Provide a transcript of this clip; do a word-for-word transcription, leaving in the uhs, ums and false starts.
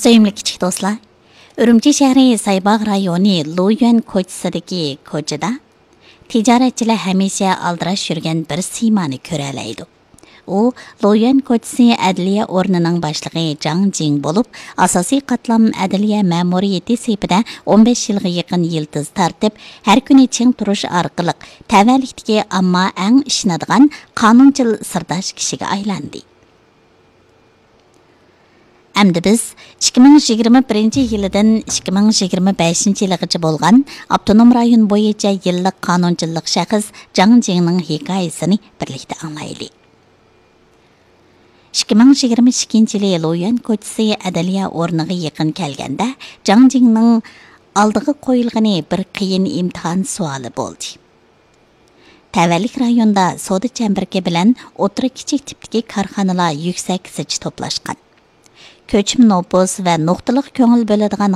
سۆيۈملۈك كىچىك دوستلار، ئۈرۈمچى شەھىرى سايباغ رايونى لۇيۈەن كوچىسىدىكى كوچىدا تىجارەتچىلەر ھەمىشە ئالدىراش يۈرگەن بىر سىيمانى كۆرەلەيدۇ. ئۇ لۇيۈەن كوچىسى ئەدلىيە ئورنىنىڭ باشلىقى جاڭ جىڭ بولۇپ، ئاساسىي قاتلام ئەدلىيە مەمۇرىيىتى سېپىدە ئون بەش يىلغا يېقىن يىلتىز تارتىپ، ھەر كۈنى چىڭ تۇرۇش ئارقىلىق تەۋەلىكتىكى ئامما ئەڭ ئىشىنىدىغان قانۇنچىل سىرداش كىشىگە ئايلاندى. ئەمدى بىز ئىككى مىڭ يىگىرمە بىرىنچى يىلىدىن ئىككى مىڭ يىگىرمە بەشىنچى يىلىغىچە بولغان ئاپتونوم رايون بويىچە يىللىق قانۇنچىللىق شەخس جاڭ جىڭنىڭ ھېكايىسىنى بىرلىكتە ئاڭلايلى. ئىككى مىڭ يىگىرمە ئىككىنچى يىلى لۇيۈەن كوچىسى ئەدلىيە ئورنىغا يېقىن كەلگەندە، جاڭ جىڭنىڭ ئالدىغا قويۇلغىنى بىر قىيىن ئىمتىھان سوئالى بولدى. تەۋەلىك رايوندا سودا چەمبىرىكى بىلەن ئوتتۇرا كىچىك تىپتىكى كارخانىلار يۈكسەك زىچ توپلاشقان. كۆچمە نوپۇس ۋە نۇقتىلىق كۆڭۈل بۆلىدىغان